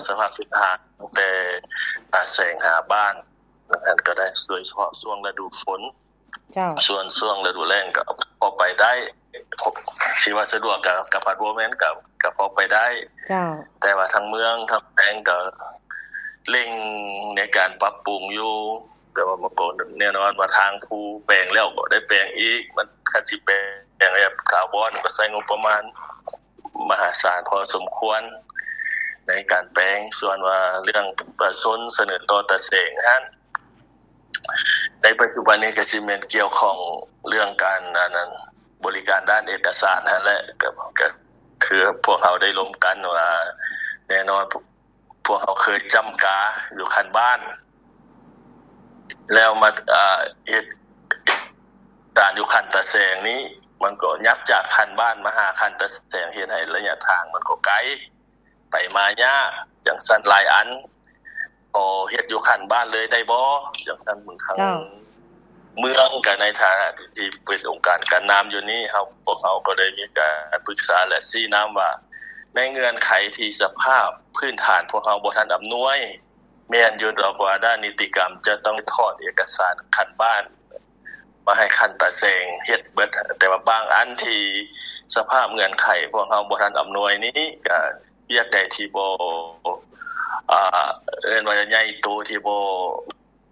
ສະພາບພື້ນຖານ ຕັ້ງແຕ່ຕາແສງຫາບ້ານນັ້ນກໍໄດ້ ໂດຍສະເພາະຊ່ວງລະດູຝົນ. ເຈົ້າ. ສ່ວນຊ່ວງລະດູແລ້ງກໍພໍໄປໄດ້ ຊິວ່າສະດວກກໍ ກໍພັດບໍ່ແມ່ນ ກໍ ກໍພໍໄປໄດ້. ເຈົ້າ. ແຕ່ວ່າທາງເມືອງ ທາງແຂວງກໍເລັ່ງໃນການປັບປຸງຢູ່ ແຕ່ວ່າມັນກໍແນ່ນອນວ່າທາງຜູ້ແປງແລ້ວກໍໄດ້ແປງອີກ ມັນຄັນຊິແປງແບບຖາວອນກໍໃຊ້ງົບປະມານມະຫາສານພໍສົມຄວນໃນການແປງ. ສ່ວນວ່າເລື່ອງປະຊາຊົນສະເໜີຕໍ່ຕາແສງຫັ້ນ ໃນປັດຈຸບັນນີ້ກໍຊິແມ່ນກ່ຽວຂ້ອງເລື່ອງການ ອັນນັ້ນ ບໍລິການດ້ານເອກະສານຫັ້ນແຫຼະ ກໍ ກໍຄືພວກເຮົາໄດ້ລົມກັນວ່າ ແນ່ນອນ ພວກເຮົາເຄີຍຈ້ຳກາຢູ່ຂັ້ນບ້ານ ແລ້ວມາ ເອີ ເຮັດການຢູ່ຂັ້ນຕາແສງນີ້ ມັນກໍຫຍັບຈາກຂັ້ນບ້ານມາຫາຂັ້ນຕາແສງ ເຮັດໃຫ້ໄລຍະທາງມັນກໍໄກ ໄປມາຍາກ ຈັ່ງຊັ້ນຫຼາຍອັນ ພໍເຮັດຢູ່ຂັ້ນບ້ານເລີຍໄດ້ບໍ່ ຈັ່ງຊັ້ນ. ທາງ ເຈົ້າ. ເມືອງກໍໃນຖານະທີ່ເປັນອົງການການນຳຢູ່ນີ້ ເຮົາ ພວກເຮົາກໍໄດ້ມີການປຶກສາ ແລະ ຊີ້ນຳວ່າ ໃນເງື່ອນໄຂທີ່ສະພາບພື້ນຖານພວກເຮົາບໍ່ທັນອຳນວຍ ແມ່ນຢູ່ດອກວ່າດ້ານນິຕິກຳຈະຕ້ອງຖອນເອກະສານຂັ້ນບ້ານມາໃຫ້ຂັ້ນຕາແສງເຮັດເບິດ, ແຕ່ວ່າບາງອັນທີ່ສະພາບເງື່ອນໄຂພວກເຮົາບໍ່ທັນອຳນວຍນີ້ ກະວຽກໃດທີ່ບໍ່ ອ່າ ເອີ້ນວ່າໃຫຍ່ໂຕ ທີ່ບໍ່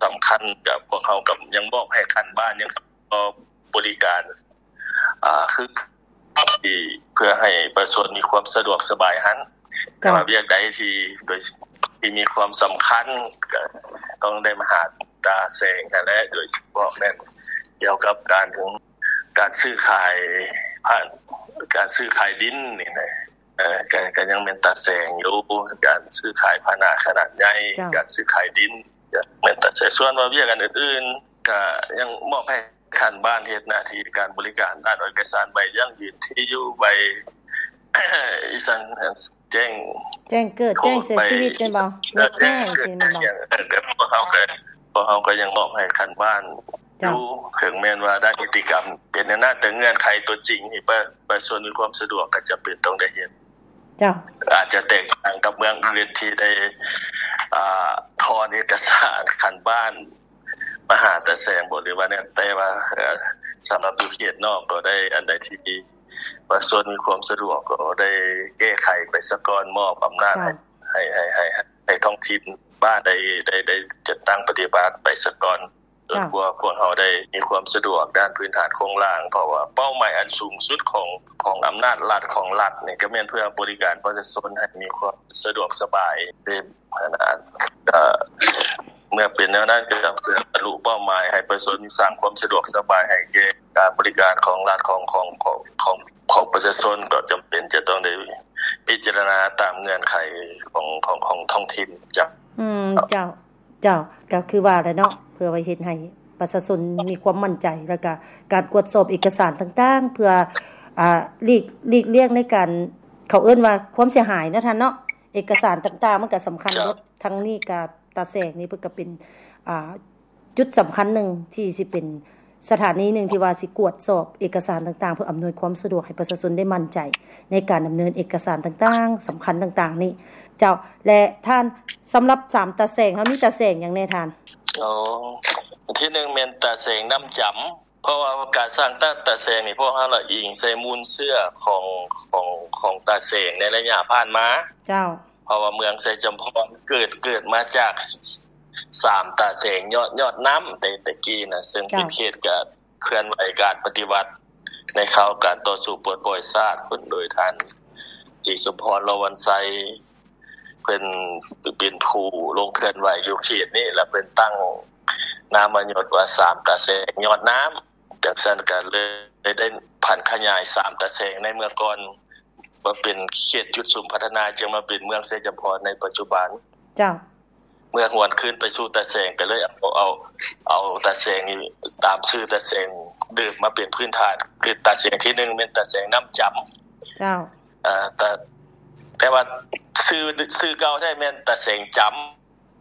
ສຳຄັນ ກະພວກເຮົາກໍຍັງມອບໃຫ້ຂັ້ນບ້ານ ຍັງກໍບໍລິການ ອ່າ ຄືທີ່ເພື່ອໃຫ້ປະຊາຊົນມີຄວາມສະດວກສະບາຍຫັ້ນ. ເຈົ້າ. ແຕ່ວ່າວຽກໃດທີ່ ໂດຍທີ່ມີຄວາມສຳຄັນ ກໍຕ້ອງໄດ້ມາຫາຕາແສງຫັ້ນແຫຼະ, ໂດຍສະເພາະແມ່ນກ່ຽວກັບການ ການຊື້ຂາຍ ຜ່ານການຊື້ຂາຍດິນນີ້ນະ. ເອີ ກໍ ກໍຍັງແມ່ນຕາແສງຢູ່ ການຊື້ຂາຍພາຫະນະຂະໜາດໃຫຍ່, ເຈົ້າ. ການຊື້ຂາຍດິນ ກໍແມ່ນຕາແສງ. ສ່ວນວ່າວຽກອັນອື່ນໆ ກໍຍັງມອບໃຫ້ຂັ້ນບ້ານເຮັດໜ້າທີ່ການບໍລິການດ້ານເອກະສານໃບຢັ້ງຢືນທີ່ຢູ່ ໃບ ອີ່ສັງ ແຈ້ງ ແຈ້ງເກີດ ໂຕ ແຈ້ງເສຍຊີວິດແມ່ນບໍ່? ເອີ ແຈ້ງເກີດ ແຈ້ງຫຍັງ ເອີ ກໍພວກເຮົາກໍ ພວກເຮົາກໍຍັງມອບໃຫ້ຂັ້ນບ້ານ ເຈົ້າ. ຢູ່ ເຖິງແມ່ນວ່າດ້ານນິຕິກຳເປັນແນວນັ້ນ ແຕ່ເງື່ອນໄຂຕົວຈິງນີ້ ປະ ປະຊາຊົນມີຄວາມສະດວກກໍຈຳເປັນຕ້ອງໄດ້ເຮັດ. ເຈົ້າ. ອາດຈະແຕກຕ່າງກັບເມືອງອື່ນທີ່ໄດ້ ອ່າ ຖອນເອກະສານຂັ້ນບ້ານມາຫາຕາແສງບໍ ຫຼືວ່າແນວ ແຕ່ວ່າ ເອີ ສຳລັບຢູ່ເຂດນອກກໍໄດ້ ອັນໃດທີ່ປະຊາຊົນມີຄວາມສະດວກກໍໄດ້ແກ້ໄຂໄປສາກ່ອນ ມອບອຳນາດ ເຈົ້າ. ໃຫ້ ໃຫ້ ໃຫ້ ໃຫ້ ໃຫ້ທ້ອງຖິ່ນບ້ານໄດ້ ໄດ້ ໄດ້ຈັດຕັ້ງປະຕິບັດໄປສາກ່ອນ. ຈົນກວ່າພວກເຮົາໄດ້ມີຄວາມສະດວກດ້ານພື້ນຖານໂຄງລ່າງ, ເພາະວ່າເປົ້າໝາຍອັນສູງສຸດຂອງ ຂອງອຳນາດລັດ ຂອງລັດນີ້ ກໍແມ່ນເພື່ອບໍລິການປະຊາຊົນໃຫ້ມີຄວາມສະດວກສະບາຍ. ເອີ ເມື່ອເປັນແນວນັ້ນ ກໍເພື່ອບັນລຸເປົ້າໝາຍໃຫ້ປະຊາຊົນສ້າງຄວາມສະດວກສະບາຍໃຫ້ແກ່ການບໍລິການຂອງລັດ ຂອງ ຂອງ ຂອງ ຂອງ ຂອງປະຊາຊົນ ກໍຈຳເປັນຈະຕ້ອງໄດ້ພິຈາລະນາຕາມເງື່ອນໄຂຂອງ ຂອງ ຂອງທ້ອງຖິ່ນ. ເຈົ້າ. ອືມ ເຈົ້າ. ເຈົ້າ ກໍຄືວ່າແຫຼະເນາະ ເພື່ອໄວ້ເຮັດໃຫ້ປະຊາຊົນມີຄວາມໝັ້ນໃຈ ແລ້ວກະການກວດສອບເອກະສານຕ່າງໆ ເພື່ອ ອ່າ ຫຼີກ ຫຼີກລ່ຽງໃນການ ເຂົາເອີ້ນວ່າຄວາມເສຍຫາຍເນາະທ່ານເນາະ. ເອກະສານຕ່າງໆ ມັນກໍສຳຄັນເບິດ. ທາງນີ້ກໍຕາແສງນີ້ເພິ່ນກໍເປັນ ອ່າ ຈຸດສຳຄັນໜຶ່ງທີ່ຊິເປັນ ສະຖານີໜຶ່ງທີ່ວ່າຊິກວດສອບເອກະສານຕ່າງໆ ເພື່ອອຳນວຍຄວາມສະດວກໃຫ້ປະຊາຊົນໄດ້ໝັ້ນໃຈໃນການດຳເນີນເອກະສານຕ່າງໆ ສຳຄັນຕ່າງໆນີ້ ເຈົ້າ. ແລະທ່ານ ສຳລັບສາມຕາແສງ ເຮົາມີຕາແສງຫຍັງແດ່ທ່ານ? ອໍ ທີໜຶ່ງແມ່ນຕາແສງນ້ຳຈຳ ເພາະວ່າການສ້າງຕາ ຕາແສງນີ້ ພວກເຮົາລະອີງໃສ່ມູນເຊື້ອຂອງ ຂອງ ຂອງຕາແສງໃນໄລຍະຜ່ານມາ. ເຈົ້າ. ເພາະວ່າເມືອງໄຊຈຳພອນເກີດ ເກີດມາຈາກສາມຕາແສງຍອດ ຍອດນ້ຳແຕ່ ແຕ່ກີ້ນະ ເຊິ່ງເປັນເຂດການ ເຄື່ອນໄຫວການປະຕິວັດໃນຄາວການຕໍ່ສູ້ປົດປ່ອຍຊາດພຸ້ນ ໂດຍທ່ານ ສີສົມພອນ ລໍວັນໄຊ ເພິ່ນເປັນຜູ້ລົງເຄື່ອນໄຫວຢູ່ເຂດນີ້ ແລະ ເພິ່ນຕັ້ງນາມມະຍົດວ່າ ສາມຕາແສງຍອດນ້ຳ. ຈັ່ງຊັ້ນກໍເລີຍໄດ້ຜັນຂະຫຍາຍສາມຕາແສງໃນເມື່ອກ່ອນ ມາເປັນເຂດຈຸດສຸມພັດທະນາ ຈຶ່ງມາເປັນເມືອງໄຊຈຳພອນໃນປັດຈຸບັນ. ເຈົ້າ. ເມື່ອຫວນຄືນໄປສູ່ຕາແສງ ກໍເລີຍເອົາ ເອົາ ເອົາຕາແສງນີ້ຕາມຊື່ຕາແສງເດີມມາເປັນພື້ນຖານ ຄືຕາແສງທີໜຶ່ງແມ່ນຕາແສງນ້ຳຈຳ. ເຈົ້າ. ເອີ ແຕ່ ແຕ່ວ່າຊື່ ຊື່ເກົ່າແທ້ແມ່ນຕາແສງຈຳ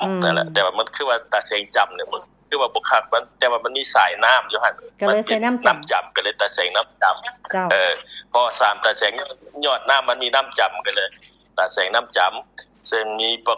ອືມ ນັ້ນແຫຼະ. ແຕ່ວ່າມັນຄືວ່າຕາແສງຈຳນີ້ ຄືວ່າບໍ່ຄັກ ມັນ ແຕ່ວ່າມັນມີສາຍນ້ຳຢູ່ຫັ້ນ ກໍເລີຍໃສ່ນ້ຳຈຳ ນ້ຳຈຳ ກໍເລີຍຕາແສງນ້ຳຈຳ. ເຈົ້າ. ເອີ ເພາະວ່າສາມຕາແສງຍອດ ຍອດນ້ຳມັນມີນ້ຳຈຳ ກໍເລີຍຕາແສງນ້ຳຈຳ ເຊິ່ງມີປະ